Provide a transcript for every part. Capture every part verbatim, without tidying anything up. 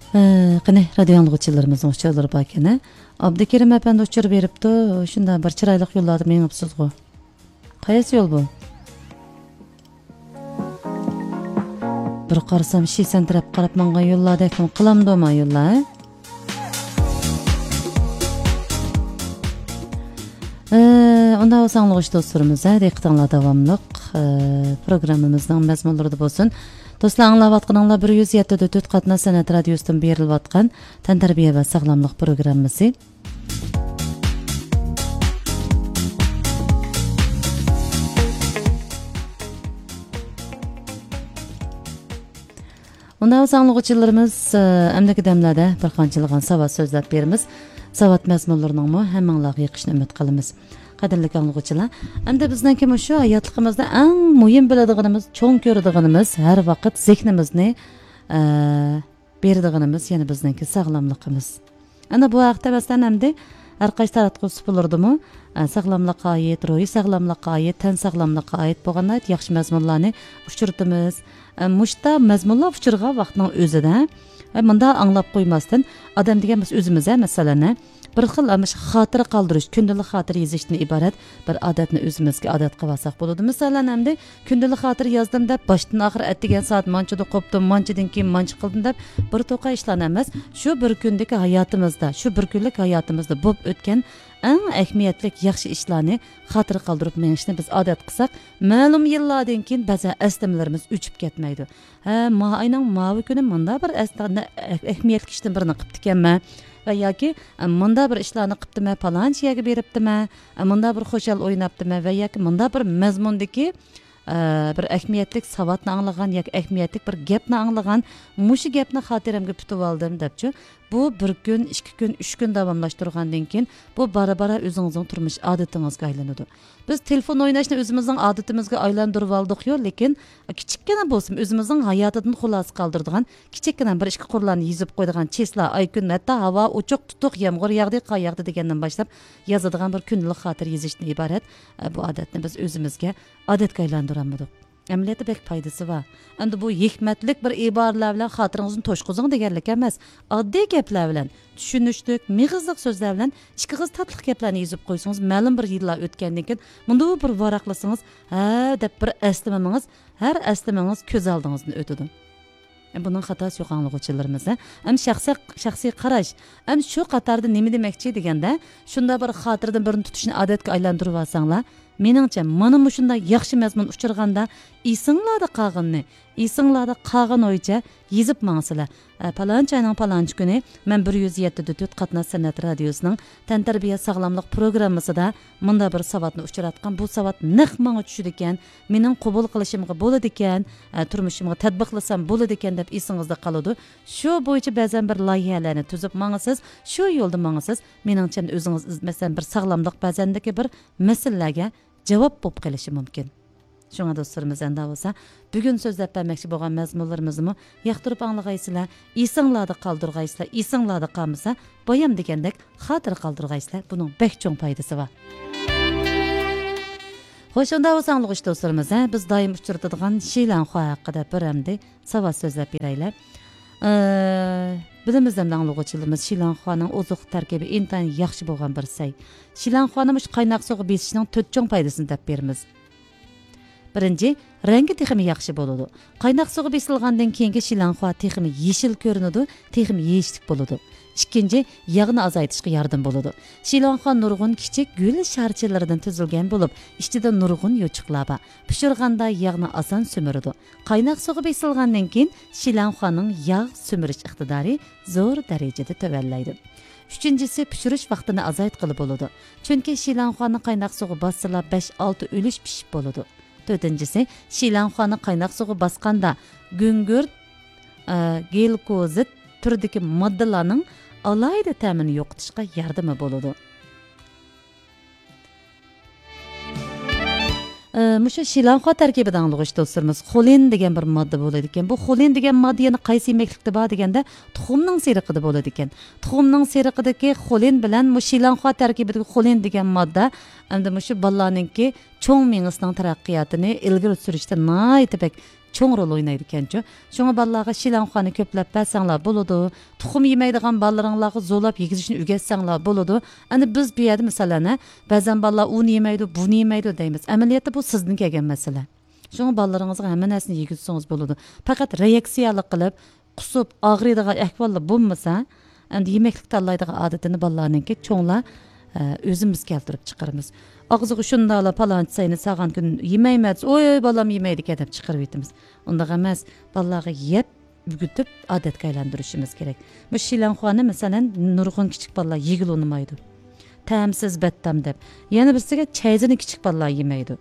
ئە، قېنى، رادىيو ئاڭلىغۇچىلىرىمىزنىڭ ئۇچۇرلىرى باركەن، ھە؟ ئابدۇكېرىم ئەپەندى ئۇچۇر بېرىپتۇ، شۇنداق بىر چىرايلىق يوللاردا مېڭىپسىزغۇ. قايسى يول بۇ؟ بىر قارىسام، شىسەن تەرەپ قاراپ ماڭغان يوللاردەكمۇ قىلامدۇ ما يوللار، ھە؟ ئە، ئۇنداق بولسا ئاڭلىغۇچى دوستلىرىمىز، ھە، دىققىتىڭلار داۋاملىق، ئە، پروگراممىمىزنىڭ مەزمۇنلىرىدا بولسۇن. دوستلار، ئاڭلاۋاتقىنىڭلار بىر يۈز يەتتە نۆقتە تۆت قاتناش سەنئەت رادىيوسىدىن بېرىلىۋاتقان تەنتەربىيە ۋە ساغلاملىق پروگراممىسى. ئۇنداق بولسا ئاڭلىغۇچىلىرىمىز، ئە، ئەمدىكى دەملەردە بىر قانچىلىغان ساۋات سۆزلەپ بېرىمىز. ساۋات مەزمۇنلىرىنىڭمۇ ھەممىڭلارغا يېقىشىنى ئۈمىد قىلىمىز. قەدىرلىك ئاڭلىغۇچىلار، ئەمدى بىزنىڭكى مۇشۇ ھاياتلىقىمىزدا ئەڭ مۇھىم بىلىدىغىنىمىز، چوڭ كۆرىدىغىنىمىز، ھەر ۋاقىت زېھنىمىزنى، ئە، بېرىدىغىنىمىز يەنە بىزنىڭكى ساغلاملىقىمىز. ئەنە بۇ ھەقتە مەسىلەن ئەمدى ھەر قايسى تاراتقۇ سۇپىلىرىدىمۇ، ئە، ساغلاملىققا ئائىت، روھىي ساغلاملىققا ئائىت، تەن ساغلاملىققا ئائىت بولغان ناھايىتى ياخشى مەزمۇنلارنى ئۇچرىتىمىز. ئە، مۇشتا مەزمۇنلار ئۇچرىغان ۋاقىتنىڭ ئۆزىدە، ئە، مۇنداق ئاڭلاپ قويماستىن، ئادەم دېگەن بىز ئۆزىمىز، ھە، مەسىلەن، ھە، بىر خىل، ئە، مۇشۇ خاتىرە قالدۇرۇش، كۈندىلىك خاتىرە يېزىشتىن ئىبارەت بىر ئادەتنى ئۆزىمىزگە ئادەت قىلىۋالساق بولىدۇ. مەسىلەن، ئەمدى كۈندىلىك خاتىرە يازدىم دەپ، باشتىن ئاخىر ئەتىگەن سائەت مانچىدا قوپتۇم، مانچىدىن كېيىن مانچە قىلدىم دەپ، بىر توقا ئىشلارنى ئەمەس، شۇ بىر كۈندىكى ھاياتىمىزدا، شۇ بىر كۈنلۈك ھاياتىمىزدا بولۇپ ئۆتكەن ئەڭ ئەھمىيەتلىك ياخشى ئىشلارنى خاتىرە قالدۇرۇپ مېڭىشنى بىز ئادەت قىلساق، مەلۇم يىللاردىن كېيىن بەزەن ئەسلىمىلىرىمىز ئۆچۈپ كەتمەيدۇ. ھە، ما ئاينىڭ ماۋۇ كۈنى مۇنداق بىر ئەس-، ئەھمىيەتلىك ئىشنى بىرنى قىپتىكەنمەن ۋە ياكى، ئە، مۇنداق بىر ئىشلارنى قىپتىمەن، پالانچى يەرگە بېرىپتىمەن، ئە، مۇنداق بىر خۇشال ئويناپتىمەن ۋە ياكى مۇنداق بىر مەزمۇندىكى، ئە، بىر ئەھمىيەتلىك ساۋاتنى ئاڭلىغان ياكى ئەھمىيەتلىك بىر گەپنى ئاڭلىغان، مۇشۇ گەپنى خاتىرەمگە پۈتۈۋالدىم دەپچۇ. بۇ بىر كۈن، ئىككى كۈن، ئۈچ كۈن داۋاملاشتۇرغاندىن كېيىن، بۇ بارا-بارا ئۆزىڭىزنىڭ تۇرمۇش ئادىتىڭىزگە ئايلىنىدۇ. بىز تېلېفون ئويناشنى ئۆزىمىزنىڭ ئادىتىمىزگە ئايلاندۇرۇۋالدۇقيۇ، لېكىن كىچىككىنە بولسىمۇ ئۆزىمىزنىڭ ھاياتىدىن خۇلاسە قالدۇرىدىغان، كىچىككىنە بىر ئىككى قۇرلارنى يېزىپ قويىدىغان چىسلا، ئاي، كۈن، ھەتتا ھاۋا ئوچۇق، تۇتۇق، يامغۇر ياغدى، قار ياغدى دېگەندىن باشلاپ يازىدىغان بىر كۈندىلىك خاتىرە يېزىشتىن ئىبارەت، ئە، بۇ ئادەتنى بىز ئۆزىمىزگە ئادەتكە ئايلاندۇرالمىدۇق. ئەمەلىيەتتە بەك پايدىسى بار. ئەمدى بۇ ھېكمەتلىك بىر ئىبارىلەر بىلەن خاتىرىڭىزنى توشقۇزۇڭ دېگەنلىك ئەمەس. ئاددىي گەپلەر بىلەن، چۈشىنىشلىك، مېغىزلىق سۆزلەر بىلەن ئىككى ئېغىز تاتلىق گەپلەرنى يېزىپ قويسىڭىز، مەلۇم بىر يىللار ئۆتكەندىن كېيىن مۇنداق بىر ۋاراقلىسىڭىز، ھە دەپ بىر ئەسلىمىڭىز، ھەر ئەسلىمىڭىز كۆز ئالدىڭىزدىن ئۆتىدۇ. بۇنىڭ خاتاسى يوق ئاڭلىغۇچىلىرىمىز. ھەم شەخسىي، شەخسىي قاراش. ھەم شۇ قاتاردا نېمە دېمەكچى دېگەندە، شۇنداق بىر خاتىرىدىن بىرنى تۇتۇشنى ئادەتكە ئايلاندۇرۇۋالساڭلار، مېنىڭچە، مانا مۇشۇنداق ياخشى مەزمۇن ئۇچرىغاندا، ئېسىڭلاردا قالغىنىنى، ئېسىڭلاردا قالغىنى بويىچە يېزىپ ماڭسىلەر. ئە، پالانچى ئاينىڭ پالانچى كۈنى مەن بىر يۈز يەتتە نۆقتە تۆت قاتناش سەنئەت رادىيوسىنىڭ تەنتەربىيە ساغلاملىق پروگراممىسىدا مۇنداق بىر ساۋاتنى ئۇچراتقان. بۇ ساۋات نەق ماڭا چۈشىدىكەن، مېنىڭ قوبۇل قىلىشىمغا بولىدىكەن، ئە، تۇرمۇشۇمغا تەتبىقلىسام بولىدىكەن دەپ ئېسىڭىزدە قالىدۇ. شۇ بويىچە بەزەن بىر لايىھەلەرنى تۈزۈپ ماڭىسىز، شۇ يولدا ماڭىسىز. مېنىڭچە، ئۆزىڭىز، مەسىلەن، بىر ساغلاملىق بەزەندىكى بىر مەسىلىلەرگە جاۋاب بولۇپ قېلىشى مۇمكىن. شۇڭا دوستلىرىمىز، ئەندا بولسا بۈگۈن سۆزلەپ بەرمەكچى بولغان مەزمۇنلىرىمىزنىمۇ ياقتۇرۇپ ئاڭلىغايسىلەر، ئېسىڭلاردا قالدۇرغايسىلەر، ئېسىڭلاردا قالمىسا بايام دېگەندەك خاتىرە قالدۇرغايسىلەر، بۇنىڭ بەك چوڭ پايدىسى بار. خوش، ئۇنداق بولسا ئاڭلىغۇچى دوستلىرىمىز، ھە، بىز دائىم ئۇچرىتىدىغان شىلەنخۇا ھەققىدە بىر ئەمدى ساۋات سۆزلەپ بېرەيلى. ئە، بىلىمىز ئەمدى ئاڭلىغۇچىلىرىمىز، شىلەنخۇانىڭ ئوزۇق تەركىبى ئىنتايىن ياخشى بولغان بىر سەي. شىلەنخۇانى مۇشۇ قايناق سۇغا بېسىشنىڭ تۆت چوڭ پايدىسىنى دەپ بېرىمىز. بىرىنچى، رەڭگى تېخىمۇ ياخشى بولىدۇ. قايناق سۇغا بېسىلغاندىن كېيىنكى شىلەنخۇا تېخىمۇ يېشىل كۆرۈنىدۇ، تېخىمۇ يېيىشلىك بولىدۇ. ئىككىنچى، ياغنى ئازايتىشقا ياردىمى بولىدۇ. شىلەنخۇا نۇرغۇن كىچىك گۈل شارچىلىرىدىن تۈزۈلگەن بولۇپ، ئىچىدە نۇرغۇن يوچۇقلار بار. پىشۇرغاندا ياغنى ئاسان سۈمۈرىدۇ. قايناق سۇغا بېسىلغاندىن كېيىن شىلەنخۇانىڭ ياغ سۈمۈرۈش ئىقتىدارى زور دەرىجىدە تۆۋەنلەيدۇ. ئۈچىنچىسى، پىشۇرۇش ۋاقتىنى ئازايتقىلى بولىدۇ. چۈنكى شىلەنخۇانى قايناق سۇغا باسسىلا، بەش-ئالتە ئۈلۈش پىشىپ بولىدۇ. تۆتىنچىسى، شىلەنخۇانى قايناق سۇغا باسقاندا، گۈڭگۈرت، ئە، گلۇكوزىد تۈرىدىكى ماددىلارنىڭ ئالاھىدە تەمىنى يوقىتىشقا ياردىمى بولىدۇ. ئە، مۇشۇ شىلانخۇا تەركىبىدە ئاڭلىغۇچ دوستلىرىمىز، خولىن دېگەن بىر ماددا بولىدىكەن. بۇ خولىن دېگەن ماددا يەنە قايسى يېمەكلىكتە بار دېگەندە، تۇخۇمنىڭ سېرىقىدا بولىدىكەن. تۇخۇمنىڭ سېرىقىدىكى خولىن بىلەن مۇشۇ شىلانخۇا تەركىبىدىكى خولىن دېگەن ماددا ئەمدى مۇشۇ بالىلارنىڭكى چوڭ مېڭىسىنىڭ تەرەققىياتىنى ئىلگىرى سۈرۈشتە ناھايىتى بەك چوڭ رول ئوينايدىكەنچۇ. شۇڭا بالىلارغا شىلەڭخۇانى كۆپلەپ بەرسەڭلار بولىدۇ. تۇخۇم يېمەيدىغان بالىلىرىڭلارغا زورلاپ يېگۈزۈشنى ئۆگەتسەڭلار بولىدۇ. ئەنە بىز بۇ يەردە مىسالەن، ھە، بەزەن بالىلار ئۇنى يېمەيدۇ، بۇنى يېمەيدۇ دەيمىز. ئەمەلىيەتتە بۇ سىزدىن كەلگەن مەسىلە. شۇڭا بالىلىرىڭىزغا ھەممە نەرسىنى يېگۈزسىڭىز بولىدۇ. پەقەت رېئاكسىيەلىك قىلىپ، قۇسۇپ، ئاغرىيدىغان ئەھۋاللار بولمىسا، ئەمدى يېمەكلىك تاللايدىغان ئادىتىنى بالىلارنىڭكى چوڭلار، ئە، ئۆزىمىز كەلتۈرۈپ چىقىرىمىز. ئاغزىغا شۇنداقلا پالانچە سەينى سالغان كۈن يېمەيمەن دېسە، «ئوي، بالام يېمەيدىكەن» دەپ چىقىرىۋېتىمىز. ئۇنداق ئەمەس، بالىلارغا يەپ، ئۆگىتىپ، ئادەتكە ئايلاندۇرۇشىمىز كېرەك. مۇشۇ شىلەڭخۇانى، مەسىلەن، نۇرغۇن كىچىك بالىلار يېگىلى ئۇنىمايدۇ. تەمسىز، بەتتام دەپ. يەنە بىرسىگە چەيزىنى كىچىك بالىلار يېمەيدۇ.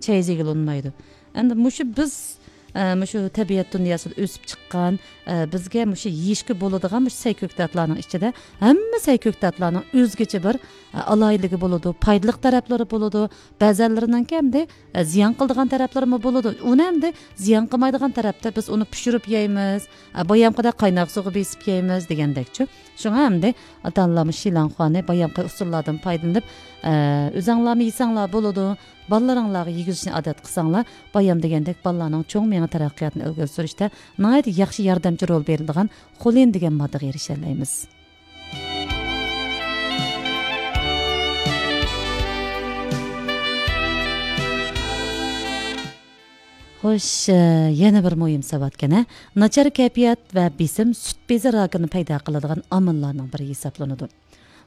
چەيزى يېگىلى ئۇنىمايدۇ. ئەمدى مۇشۇ بىز، ئە، مۇشۇ تەبىئەت دۇنياسىدا ئۆسۈپ چىققان، ئە، بىزگە مۇشۇ يېيىشكە بولىدىغان مۇشۇ سەي كۆكتاتلارنىڭ ئىچىدە ھەممە سەي كۆكتاتلارنىڭ ئۆزگىچە بىر، ئە، ئالاھىدىلىكى بولىدۇ، پايدىلىق تەرەپلىرى بولىدۇ، بەزەنلىرىنىڭكى ئەمدى، ئە، زىيان قىلىدىغان تەرەپلىرىمۇ بولىدۇ. ئۇنى ئەمدى زىيان قىلمايدىغان تەرەپتە بىز ئۇنى پىشۇرۇپ يەيمىز، ئە، بايامقىدەك قايناق سۇغا بېسىپ يەيمىز دېگەندەكچۇ. شۇڭا ئەمدى ئاتا-ئانىلار مۇشۇ شىلەڭخۇانى بايامقى ئۇسۇللاردىن پايدىلىنىپ، ئە، ئۆزەڭلارمۇ يېسەڭلار بولىدۇ، بالىلىرىڭلارغا يېگۈزۈشنى ئادەت قىلساڭلار، بايام دېگەندەك بالىلارنىڭ چوڭ مېڭە تەرەققىياتىنى ئىلگىرى سۈرۈشتە ناھايىتى ياخشى ياردەمچى رول بېرىدىغان خولىن دېگەن ماددىغا ئېرىشەلەيمىز. خوش، ئە، يەنە بىر مۇھىم ساۋاتكەن، ھە؟ ناچار كەيپىيات ۋە بېسىم سۈت بېزى راكىنى پەيدا قىلىدىغان ئامىللارنىڭ بىرى ھېسابلىنىدۇ.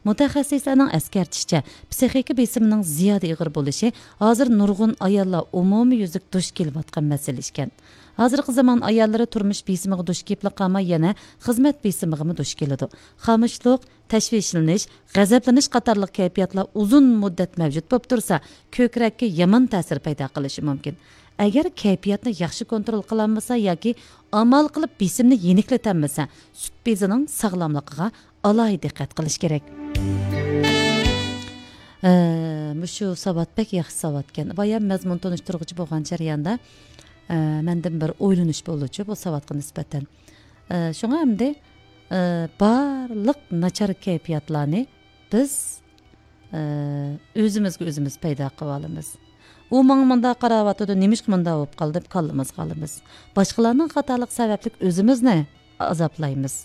مۇتەخەسسىسلەرنىڭ ئەسكەرتىشىچە، پسىخىكا بېسىمىنىڭ زىيادە ئېغىر بولۇشى ھازىر نۇرغۇن ئاياللار ئومۇميۈزلۈك دۇچ كېلىۋاتقان مەسىلە ئىكەن. ھازىرقى زامان ئاياللىرى تۇرمۇش بېسىمىغا دۇچ كېلىپلا قالماي، يەنە خىزمەت بېسىمىغىمۇ دۇچ كېلىدۇ. خامۇشلۇق، تەشۋىشلىنىش، غەزەپلىنىش قاتارلىق كەيپىياتلار ئۇزۇن مۇددەت مەۋجۇت بولۇپ تۇرسا، كۆكرەككە يامان تەسىر پەيدا قىلىشى مۇمكىن. ئەگەر كەيپىياتنى ياخشى كونترول قىلالمىسا ياكى ئامال قىلىپ بېسىمنى يېنىكلىتەلمىسە، سۈت بېزىنىڭ ساغلاملىقىغا ئالاھىدە دىققەت قىلىش كېرەك. ئە، مۇشۇ ساۋات بەك ياخشى ساۋاتكەن. بايام مەزمۇن تونۇشتۇرغۇچى بولغان جەرياندا، ئە، مەندىن بىر ئويلىنىش بولدىچۇ بۇ ساۋاتقا نىسبەتەن. ئە، شۇڭا ئەمدى، ئە، بارلىق ناچار كەيپىياتلارنى بىز، ئە، ئۆزىمىزگە ئۆزىمىز پەيدا قىلىۋالىمىز. «ئۇ ماڭا مۇنداق قاراۋاتىدۇ، نېمىشقا مۇنداق بولۇپ قالدى؟» دەپ كاللىمىزغا ئالىمىز. باشقىلارنىڭ خاتالىقى سەۋەبلىك ئۆزىمىزنى ئازابلايمىز.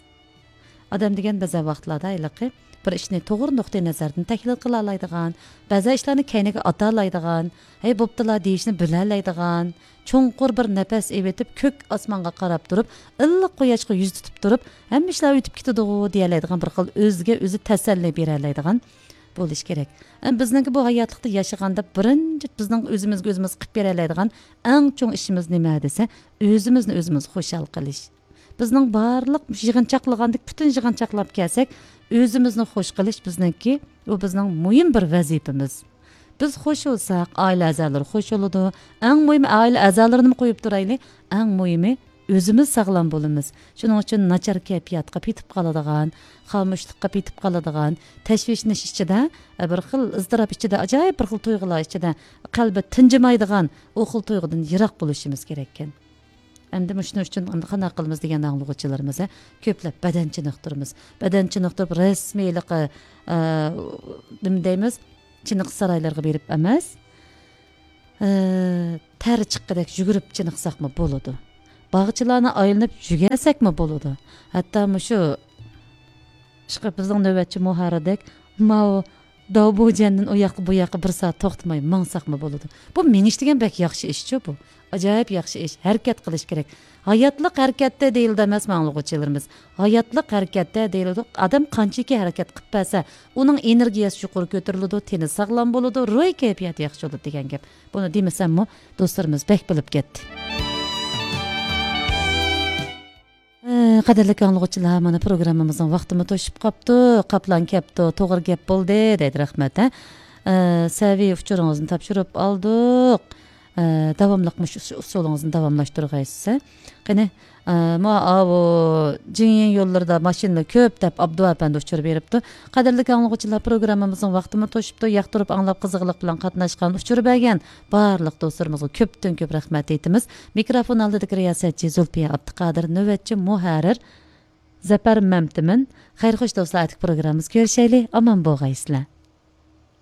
ئادەم دېگەن بەزى ۋاقىتلاردا ھېلىقى بىر ئىشنى توغرا نۇقتىئى نەزەردىن تەھلىل قىلالايدىغان، بەزى ئىشلارنى كەينىگە ئاتالايدىغان، «ھەي، بوپتۇلا» دېيىشنى بىلەلەيدىغان، چوڭقۇر بىر نەپەس ئېلىۋېتىپ، كۆك ئاسمانغا قاراپ تۇرۇپ، ئىللىق قۇياشقا يۈز تۇتۇپ تۇرۇپ، «ھەممە ئىشلار ئۆتۈپ كېتىدىغۇ» دېيەلەيدىغان بىر خىل ئۆزىگە ئۆزى تەسەللى بېرەلەيدىغان بولۇش كېرەك. ئەم، بىزنىڭكى بۇ ھاياتلىقتا ياشىغاندا بىرىنچى بىزنىڭ ئۆزىمىزگە ئۆزىمىز قىلىپ بېرەلەيدىغان ئەڭ چوڭ ئىشىمىز نېمە دېسە، ئۆزىمىزنى ئۆزىمىز خۇشال قىلىش. بىزنىڭ بارلىق يىغىنچاقلىغاندەك پۈتۈن يىغىنچاقلاپ كەلسەك، ئۆزىمىزنى خوش قىلىش بىزنىڭكى، ئۇ بىزنىڭ مۇھىم بىر ۋەزىپىمىز. بىز خوش بولساق، ئائىلە ئەزالىرى خوش بولىدۇ. ئەڭ مۇھىمى، ئائىلە ئەزالىرىنىمۇ قويۇپ تۇرايلى، ئەڭ مۇھىمى ئۆزىمىز ساغلام بولىمىز. شۇنىڭ ئۈچۈن ناچار كەيپىياتقا پېتىپ قالىدىغان، خامۇشلۇققا پېتىپ قالىدىغان، تەشۋىشلىنىش ئىچىدە، بىر خىل ئىزتىراپ ئىچىدە، ئاجايىپ بىر خىل تۇيغۇلار ئىچىدە قەلبى تىنجىمايدىغان ئۇ خىل تۇيغۇدىن يىراق بولۇشىمىز كېرەككەن. ئەمدى مۇشۇنىڭ ئۈچۈن ئەمدى قانداق قىلىمىز دېگەن ئاڭلىغۇچىلىرىمىز، ھە، كۆپلەپ بەدەن چېنىقتۇرىمىز. بەدەن چېنىقتۇرۇپ رەسمىيلىقى، ئە، نېمە دەيمىز؟ چېنىقىش سارايلىرىغا بېرىپ ئەمەس، ئە، تەر چىققۇدەك يۈگۈرۈپ چېنىقساقمۇ بولىدۇ. باغچىلارنى ئايلىنىپ يۈگۈرسەكمۇ بولىدۇ. ھەتتا مۇشۇ، ئىشقىلىپ بىزنىڭ نۆۋەتچى مۇھەررىردەك ماۋۇ داۋبۇجەندىن ئۇ ياققا بۇ ياققا بىر سائەت توختىماي ماڭساقمۇ بولىدۇ. بۇ مېڭىش دېگەن بەك ياخشى ئىشچۇ بۇ. ئاجايىپ ياخشى ئىش. ھەرىكەت قىلىش كېرەك. ھاياتلىق ھەرىكەتتە دېيىلىدۇ ئەمەسمۇ ئاڭلىغۇچىلىرىمىز؟ ھاياتلىق ھەرىكەتتە دېيىلىدۇ. ئادەم قانچىكى ھەرىكەت قىلىپ بەرسە، ئۇنىڭ ئېنېرگىيەسى يۇقىرى كۆتۈرۈلىدۇ، تېنى ساغلام بولىدۇ، روھىي كەيپىياتى ياخشى بولىدۇ دېگەن گەپ. بۇنى دېمىسەممۇ دوستلىرىمىز بەك بىلىپ كەتتى. ئە، قەدىرلىك ئاڭلىغۇچىلار، مانا پروگراممىمىزنىڭ ۋاقتىمۇ توشۇپ قاپتۇ. قاپلان كەپتۇ، توغرا گەپ بولدى دەيدۇ، رەھمەت، ھە. ئە، سەۋىي ئۇچۇرىڭىزنى تاپشۇرۇپ ئالدۇق. ئە، داۋاملىق مۇشۇ ئۇس-، ئۇسۇلىڭىزنى داۋاملاشتۇرغايسىز، ھە. قېنى، ئە، ما-، ئاۋۇ جىڭيىڭ يوللىرىدا ماشىنىلار كۆپ دەپ ئابدۇ ئەپەندى ئۇچۇر بېرىپتۇ. قەدىرلىك ئاڭلىغۇچىلار، پروگراممىمىزنىڭ ۋاقتىمۇ توشۇپتۇ. ياقتۇرۇپ ئاڭلاپ قىزغىنلىق بىلەن قاتناشقان، ئۇچۇر بەرگەن بارلىق دوستلىرىمىزغا كۆپتىن كۆپ رەھمەت ئېيتىمىز. مىكروفون ئالدىدىكى رىياسەتچى زۇلپىيە ئابدۇقادىر، نۆۋەتچى مۇھەررىر زەپەر مەمتىمىن. خەير خوش دوستلار، ئەتىكى پروگراممىمىزدا كۆرۈشەيلى، ئامان بولغايسىلەر.